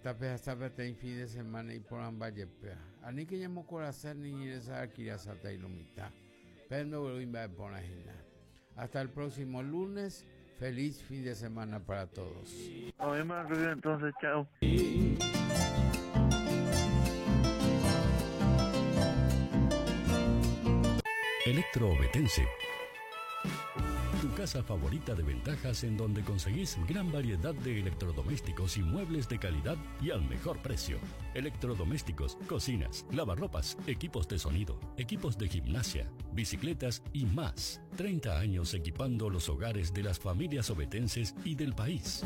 Tapehasa peteĩ fin de semana iporãmba jepéva. Aníke ñamokorasẽ ni ñeresa'akirasátei lo mitã. Pe ndoguerúi mba'e porã hína. Hasta el próximo lunes. Feliz fin de semana para todos. Oĩma Rubio entonces, chao. Electroobetense. Tu casa favorita de ventajas en donde conseguís gran variedad de electrodomésticos y muebles de calidad y al mejor precio. Electrodomésticos, cocinas, lavarropas, equipos de sonido, equipos de gimnasia, bicicletas y más. 30 años equipando los hogares de las familias obetenses y del país.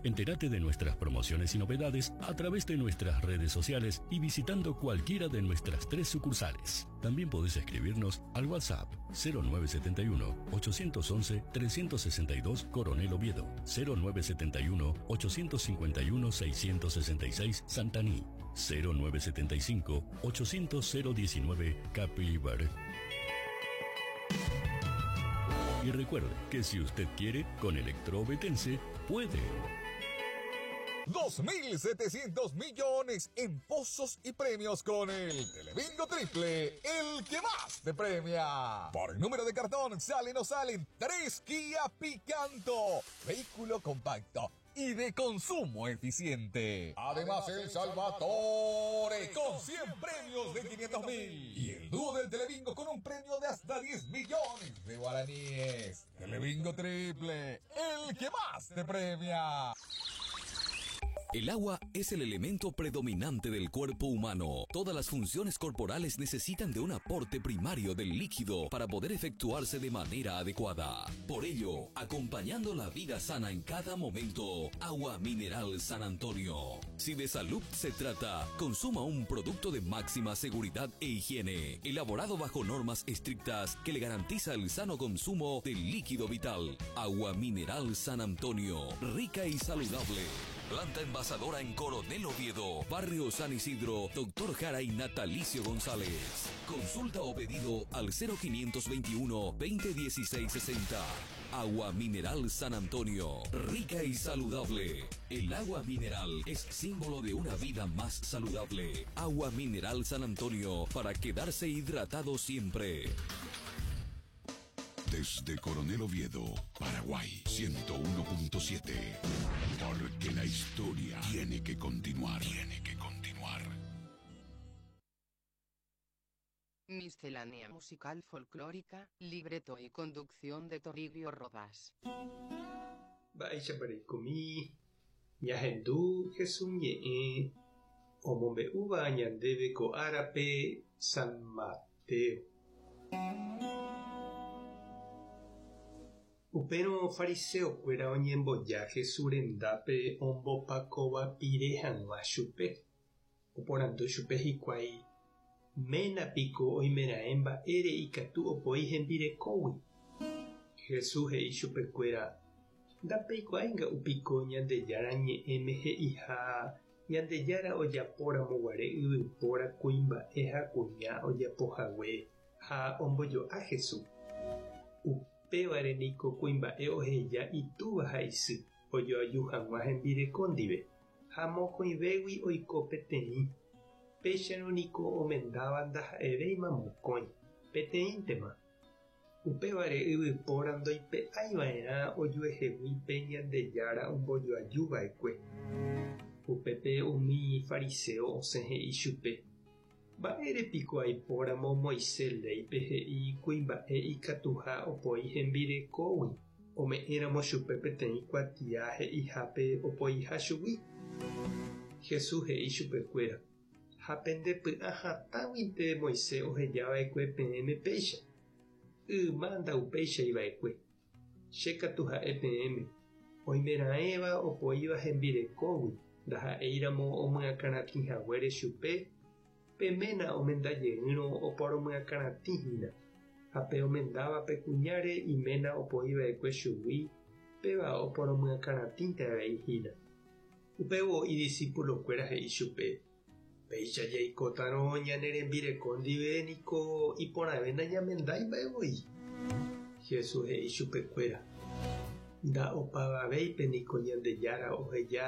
Entérate de nuestras promociones y novedades a través de nuestras redes sociales y visitando cualquiera de nuestras tres sucursales. También podés escribirnos al WhatsApp 0971 811 362 Coronel Oviedo, 0971 851 666 Santaní, 0975 800 019 Capibar. Y recuerde que si usted quiere, con Electroobetense puede. 2.700 millones en pozos y premios con el Telebingo Triple, el que más te premia. Por número de cartón, salen o salen 3 Kia Picanto, vehículo compacto y de consumo eficiente. Además, el Salvatore con 100 premios de 500.000 y el dúo del Telebingo con un premio de hasta 10 millones de guaraníes. Telebingo Triple, el que más te premia. El agua es el elemento predominante del cuerpo humano. Todas las funciones corporales necesitan de un aporte primario del líquido para poder efectuarse de manera adecuada. Por ello, acompañando la vida sana en cada momento, Agua Mineral San Antonio. Si de salud se trata, consuma un producto de máxima seguridad e higiene, elaborado bajo normas estrictas que le garantiza el sano consumo del líquido vital. Agua Mineral San Antonio, rica y saludable. Planta envasadora en Coronel Oviedo, Barrio San Isidro, Doctor Jara y Natalicio González. Consulta o pedido al 0521 2016 60. Agua Mineral San Antonio, rica y saludable. El agua mineral es símbolo de una vida más saludable. Agua Mineral San Antonio, para quedarse hidratado siempre. Desde Coronel Oviedo, Paraguay, 101.7. Porque la historia tiene que continuar. Tiene que continuar. Miscelánea musical folclórica, libreto y conducción de Toribio Rodas. Mba'éichapa reikomi, ñahendu Jesús ñe'ẽ omombe'úva ñandéve ko árape San Mateo. Upérõ fariseokuéra oñemboja Jesús rendápe ombopakovapire hag̃ua chupe. Oporandu chupe hikuái, Ména piko oimeraẽ mba'ére ikatu opoi hembirekógui? Jesús he'i chupekuéra, Ndapeikuaái nga'u piko Ñandejára Ñe'ẽme he'iha Ñandejára ojapóramo guare yvypóra kuimba'e ha kuña ojapohague ha ombojo'a Jesús. Upévare niko kuimba'e oheja itúva ha isy ojoaju hag̃ua hembireko ndive, ha mokõivégui oiko peteĩ. Péicharõ niko omendáva ndaha'evéima mokõi, peteĩntema. Upévare yvypóra ndoipe'ái va'erã ojuehegui pe Ñandejára ombojoaju va'ekue. Upépe umi fariséo osẽ he'i chupe, Mba'ére piko aipóramo Moisés léipe he'i kuimba'e ikatuha opoi hembirekógui ome'ẽramo chupe peteĩ kuatia he'ihápe opoiha chugui? Jesús he'i chupekuéra, Ha pende py'a hatãguinte Moisés oheja va'ekue peẽme péicha. Yma ndaupéichai va'ekue. Che katu ha'e peẽme, oimeraẽva opoíva hembirekógui ndaha'éiramo omyakãratĩ haguére chupe, pe ména omenda jeýrõ oporomyakãratĩ hína, ha pe omendáva pe kuñáre iména opoi va'ekue chugui, péva oporomyakãratĩnte avei hína. Upévo idisipulokuéra he'i chupe, Péicha jaikótarõ ñane rembireko ndive niko iporãve nañamendái mba'e voi. Jesús he'i chupekuéra, Nda'opavavéipe niko Ñandejára oheja.